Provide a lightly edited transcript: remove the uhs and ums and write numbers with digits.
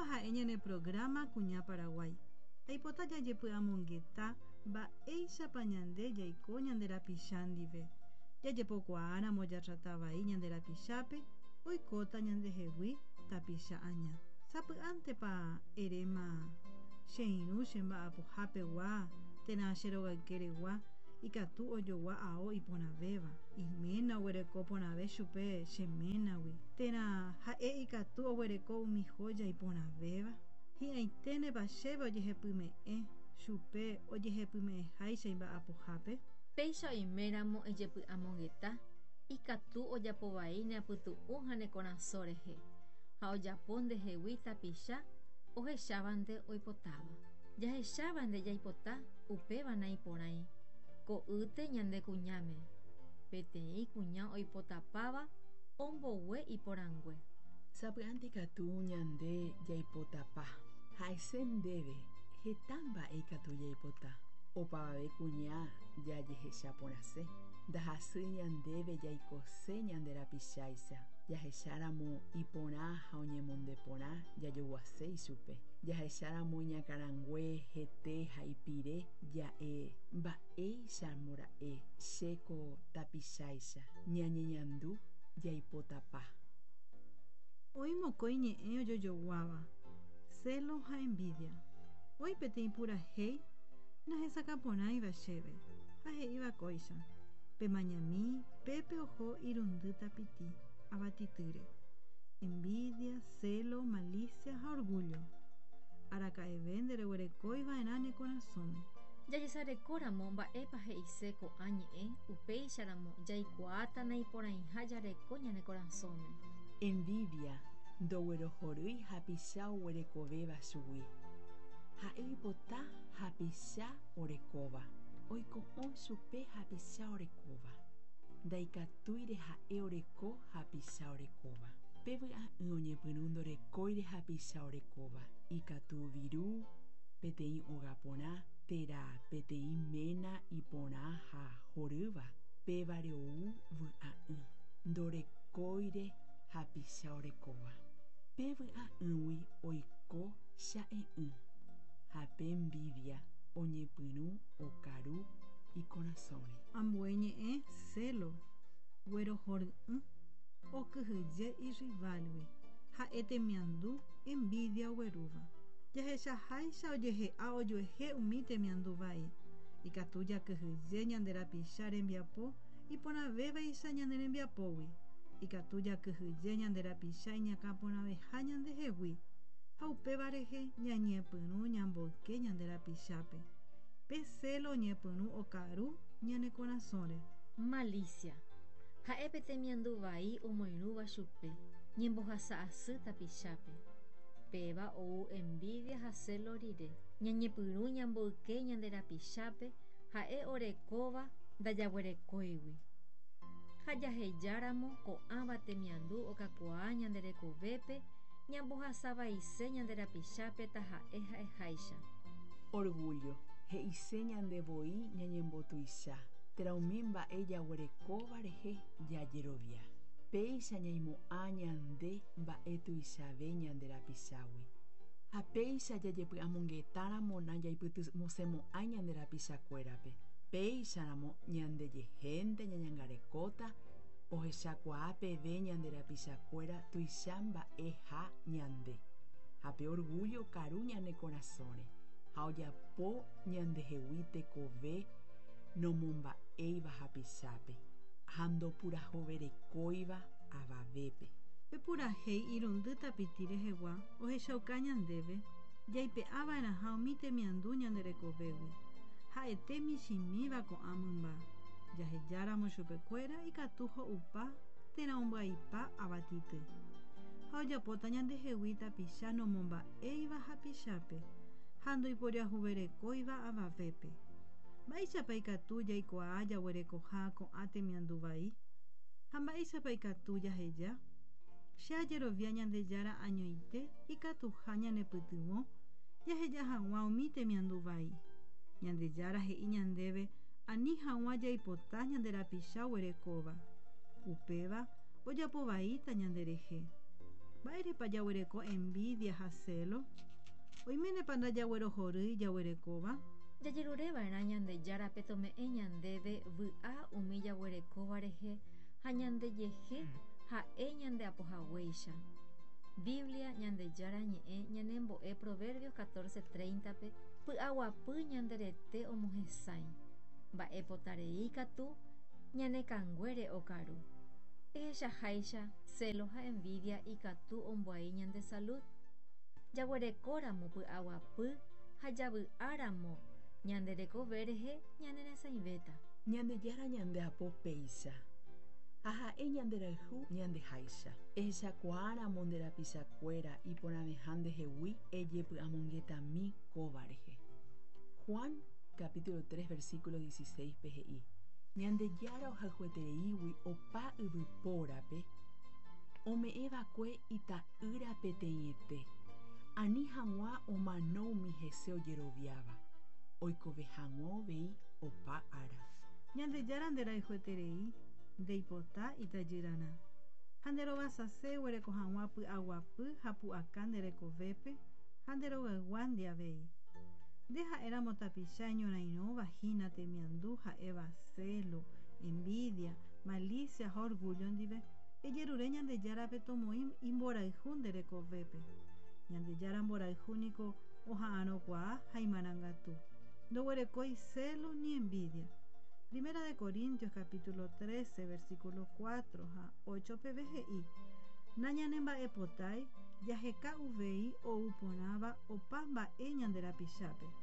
Kóva ha'e ñane programa Kuña Paraguái. Aipota jajepy'amongeta mba'éichapa ñande jaiko ñande rapicha ndive. Jajepokuaáramo jatrata vai ñande rapichápe, oikóta ñandehegui tapicha aña. Sapy'ántepa eréma che irũ che mba'apohapegua térã che rogaykeregua ikatu ojogua ao iporãvéva, iména oguereko porãve chupe che ménagui, térã ha'e ikatu oguereko umi joya iporãvéva. Hi'ãiténepa chéve ojehepyme'ẽ chupe ojehepyme'ẽháicha imba'apohápe? Péicha oiméramo ejepy'amongeta, ikatu ojapo vai ne apytu'ũ ha ne korasõ rehe, ha ojapo ndehegui tapicha ohechávante oipotáva. Jahechávante jaipota, upéva naiporãi. Ko'ýte ñande kuñáme. Peteĩ kuña oipotapáva ombogue iporãngue. Sapy'ánte ikatu ñande jaipotapa. Ha'ese ndéve heta mba'e ikatu jaipota. Opavave kuña jajehecha porãse. Ndahasýi ñandéve jaikose ñande rapicháicha. Jahecháramo iporã ha oñemonde porã jajoguase ichupe. Jahecháramo iñakãrangue, hete ha ipire ja'e mba'éichamora'e che ko tapicháicha. Ñañeñandu jaipotapa. Oĩ mokõi ñe'ẽ ojojoguáva, celo ha envidia. Oĩ peteĩ purahéi nahesakãporãiva chéve ha he'íva kóicha, Pemañami, pépe oho irundy tapiti, avatitýre. Envidia, celo, malicia ha orgullo. Araka'eve ndereguerekói va'erã ne korasõme. Jajesarekóramo mba'épa he'ise ko'ã ñe'ẽ, upéicharamo jaikuaáta naiporãiha jareko ñane korasõme. Envidia ndoguerohorýi hapicha oguerekovéva chugui. Ha'e oipota hapicha orekóva. Oiko'õ chupe hapicha orekóva. Ndaikatúire ha'e oreko hapicha orekóva. Pe vy'a'ỹ oñepyrũ ndorekóire hapicha orekóva. Ikatu viru, peteĩ óga porã térã peteĩ ména iporã ha horýva, pévare ou vy'a'ỹ. Ndorekóire hapicha orekóva. Pe vy'a'ỹgui oiko cha'e'ỹ, ha pe envidia oñepyrũ okaru ikorasõre. Ambue ñe'ẽ celo, guerohory'ỹ, okyhyje irrival-gui, ha'e temiandu envidia oguerúva. Jahechaháicha ojehe'a ojuehe umi temiandu vai. Ikatu jakyhyje ñande rapicha rembiapo iporãvévaicha ñane rembiapógui. Ikatu jakyhyje ñande rapicha iñakãporãveha ñandehegui, ha upéva rehe ñañepyrũ ñamboyke ñande rapichápe. Pe celo oñepyrũ okaru ñane korasõre. Malicia. Ha'e pe temiandu vai omoirũva chupe, ñembohasa asy tapichápe. Péva ou envidia ha celo rire. Ñañepyrũ ñamboyke ñande rapichápe ha'e orekóva ndajaguerekóigui. Ha jahejáramo ko'ãva temiandu okakuaa ñande rekovépe ñambohasa vaise ñande rapichápe taha'e ha'eháicha. Orgullo. He'ise ñande voi ñañembotuicha, térã umi mba'e jaguerekóva rehe jajerovia. Péicha ñaimo'ã ñande mba'e tuichave ñande rapichágui. Ha péicha jajepy'amongetáramo najaipytyvõsemo'ãi ñande rapichakuérape. Péicharamo ñandejehénte ñañangarekóta ohechakuaa peve ñande rapichakuéra tuicha mba'eha ñande. Ha pe orgullo okaru ñane korasõre ha ojapo ñandehegui tekove nomomba'éiva hapichápe ha ndopurahoverekóiva avavépe. Pe purahéi irundy tapiti rehegua ohechauka ñandéve jaipe'a va'erãha umi temiandu ñande rekovégui, ha'ete michĩmíva ko'ã mymba. Jahejáramo chupekuéra ikatu ho'upa térã ombyaipa avatity. Ha ojapóta ñandehegui tapicha nomomba'éiva hapichápe ha ndoiporiahuverekóiva avavépe. Mba'éichapa ikatu jaikuaa jaguerekoha ko'ã temiandu vai? Ha mba'éichapa ikatu jaheja? Che ajerovia Ñandejára añoite ikatuha ñanepytyvõ jaheja hag̃ua umi temiandu vai. Ñandejára he'i ñandéve ani hag̃ua jaipota ñande rapicha oguerekóva. Upéva ojapo vaíta ñanderehe. Mba'érepa jaguereko envidia ha celo? Oiménepa ndajaguerohorýi jaguerekóva? Jajerureva'erã Ñandejárape tome'ẽ ñandéve vy'a umi jaguerekóva rehe ha ñandejehe ha'e ñandeapohaguéicha. Biblia Ñandejára ñe'ẽ ñanembo'e Proverbios 14:30-pe py'aguapy ñande rete omohesãi. Mba'epotarei katu ñane kanguére okaru. Ehechaháicha celo ha envidia ikatu ombyai ñande salud. Jaguerekóramo py'aguapy ha javy'áramo ñande rekove rehe ñaneresãivéta. Ñandejára ñandeapo péicha. Ha ha'e ñanderayhu ñandeháicha. Ehechakuaáramo nde rapichakuéra iporãveha ndehegui ejepy'amongetami kóva rehe. Juan capítulo 3 versículo 16 pe he'i. Ñandejára ohayhuetereígui opa yvypórape ome'ẽva'ekue ita'ýra peteĩete. Ani hag̃ua omano umi hese ojeroviáva. Oikove hag̃ua uvei opa ára. Ñandejára nderayhueterei ndeipota itajyrarã. Ha nderovasase eguereko hag̃ua py'aguapy ha pu'aka nde rekovépe ha nde rogayguándi avei. Nde ha'éramo tapicha eñorairõva hína temiandu ha'éva celo, envidia, malicia ha orgullo ndive, ejerure Ñandejárape tomoĩ imborayhu nde rekovépe. Ñandejára mborayhu niko oha'arõkuaa ha imarangatu. Ndoguerekói celo ni envidia. Primera de Corintios capítulo 13 versículo 4 ha 8 peve he'i Nañanemba'epotái jaheka uvei ou porãva opa mba'e ñande rapichápe.